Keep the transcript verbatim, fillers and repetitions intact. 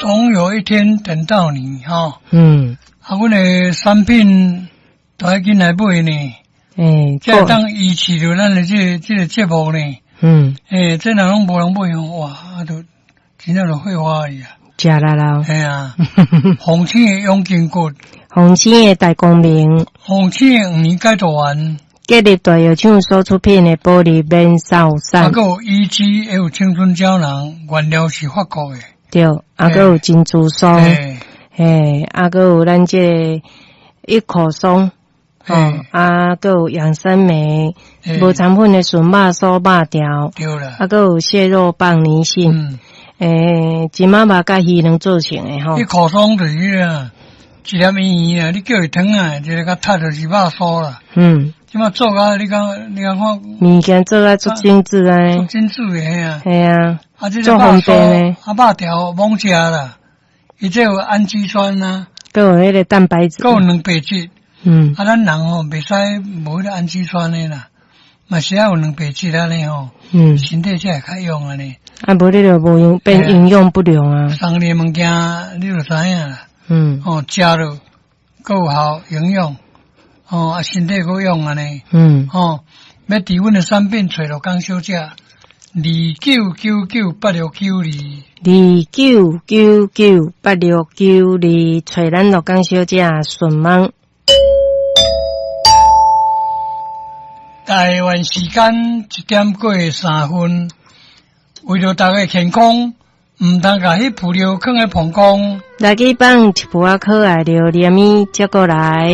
總有一天等到你吼。嗯。啊，阮的產品都愛緊來買呢。欸，才會當維持著咱的這個這個節目呢。嗯。欸，這若攏無人買吼，哇，啊，就真正就廢話去啊。食力啦。嘿啊，鳳青的養筋骨，鳳青的大光明，鳳青的黃連解毒丸，吉立大藥廠所出品的保利免瘦散，啊，閣有 E G，還有青春膠囊，原料是法國的。對，啊，閣有珍珠酥，嘿，啊，閣有咱這個一口鬆，哦，啊，閣有養生酶，無腸粉的筍肉酥肉條，對啦，啊，閣有蟹肉棒泥蕈，欸，金仔肉佮魚卵做成的吼。一口鬆就是啊，一粒圓圓啊，你叫伊湯啊，一个較踢就是肉酥啦。嗯。這馬做甲你講，你講看。物件做甲足精緻啊。足精緻的嘿啊。嘿啊。啊，這個肉酥，啊，肉條罔食啦，伊這有氨基酸啊。閣有彼個蛋白質。閣有蛋白質。嗯。啊，咱人吼袂使無彼個氨基酸的啦，嘛是愛有蛋白質按呢吼。嗯。身體才會較勇按呢。啊，無你就無營變營養不良啊。送你的物件，你就知影啦。嗯。哦，食落閣有效營養，哦，啊，身體閣勇按呢。嗯。哦，欲佇阮的產品揣樂工小姐，二九九九八六九二。二九九九八六九二，揣咱樂工小姐順問。台灣時間一點過三分，為著大家健康，毋通共彼浮料囥佇膀胱。來去放一櫥仔可愛榴蓮，接過來。